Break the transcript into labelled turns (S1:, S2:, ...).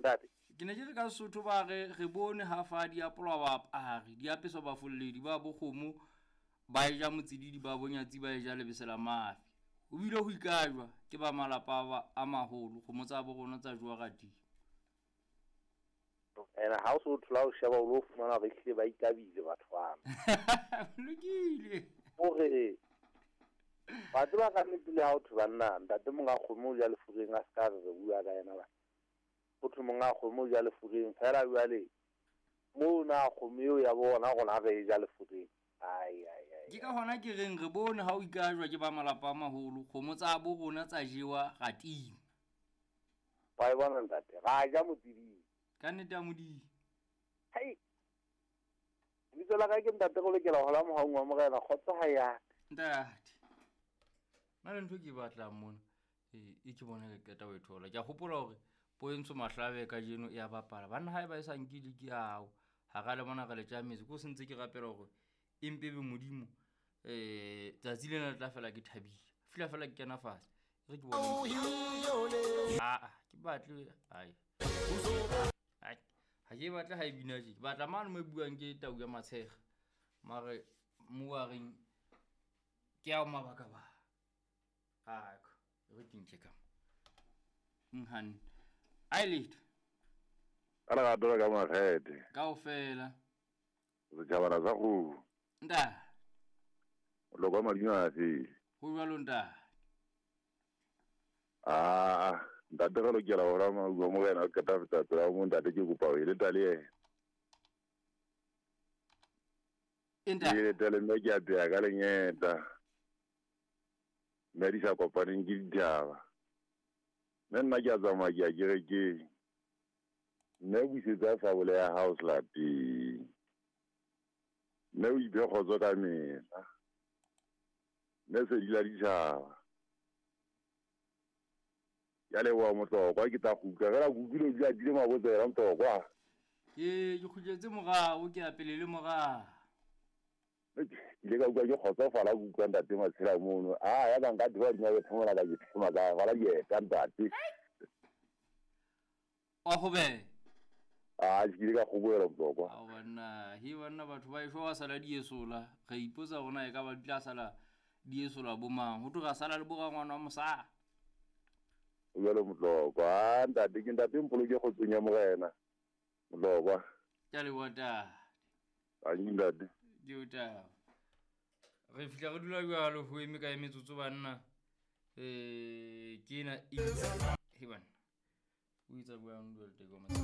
S1: Ntate.
S2: Ke ne ke re ka Sesotho ba re re bone ha fa di apolwa baapari, di apeswa bafolledi ba bokgomo ba e ja motsididi ba bonyatsi ba e ja lebese la mafi. Ho bile ho ikajwa ke ba malapa a maholo, kgomo tsa bo rona tsa jowa radimo.
S1: Ene ha o so thola o sheba o lo fumana hore ehlile ba ikabile batho bana.
S2: Lokile.
S1: Hore wa tseba ka nnete le ha o thwe banna ntate monga kgomo o ja lefureng a se ka re re bua ka yena ba. Ho thwe monga kgomo o ja lefureng fela jwale moo na kgomo eo ya bona rona re e ja lefureng. Ai ai ai.
S2: Ke ka hona ke reng re bone ha o ikajwa ke ba malapa a maholo, kgomo tsa bo rona tsa jewa ratima.
S1: Wa e bona ntate, ra ja motsididi.
S2: Ka nnete ya Modimo.
S1: Hai. Lebitso la ka ke ntate go lokela ho la mohaung wa morena kgotso ha ya.
S2: Ntate. Nna le ntho ke e batlang mona e ke bona ke qeta ho e thola. Ke a hopola hore Poentsho Mahlabe kajeno e a bapala. Banna ha eba e sa nke liki ao ha ra le bona re le tjametse. Ko sentse ke rapela hore e mpe be Modimo tsatsi lena le tla fela ke thabile. Fihla fela ke kena fatshe. Re ke bone. Ah, ke batle ai. Ai, ha ke batle ha e bina tje. Ke batla mane mo e buang ke tau ya matshega. Mare mo a reng ke ao mabaka ba. Ako, re ke nke ka mo. Nhan. Ai letho.
S3: Ka lerato le ka makgethe.
S2: Kaofela.
S3: Setjhabana sa kgomo.
S2: Ntate.
S3: Moloko wa madimo a fele.
S2: Ho jwalo ntate.
S3: Ah, ntate re lokela ho ra maua morena o qeta feta pela mo ntate ke kopa o eleta le yena.
S2: Ntate.
S3: Ke eleta le mme ke a pheha ka lengeta. Mme di sa kopaneng ke dithaba. Mme nna ke a tsamaya ke ya kerekeng. Mme busetsa sabole ya hao selateng. Mme o iphe kgotso ka mehla. Mme sedi la ditjhaba. Ke a leboha Motlokwa, ke tla kgutla fela ke utlwile o dula atile mabotsela Motlokwa.
S2: Ke ke kgutletse morao, ke ya pele le morao.
S3: Ke ile ka utlwa ke kgotsofala ke utlwa ntate Matshela mono. Ah, ya ka nka theoha hodima bethe mona ka ke thema ka rwala dieta ntate.
S2: Wa kgobeha.
S3: Ah, ke ile ka kgobohela Motlokwa.
S2: Ao banna, he banna batho ba eshwa ba sala di esola. Re ipotsa hore na e ka ba di tla sala di esola bo mang. Ho thwe ra sala le bo rangwana wa mosadi.
S3: O jwalo Motlokwa. Ah, ntate ke ntate mpoloke kgotsong ya morena. Motlokwa.
S2: Ke a leboha ntate.
S3: Tanki ntate.
S2: Ke o taba. Re fihla re dula jwalo ho eme kae metsotso banna. Ke ena e he banna. O etsa jwang dula le teko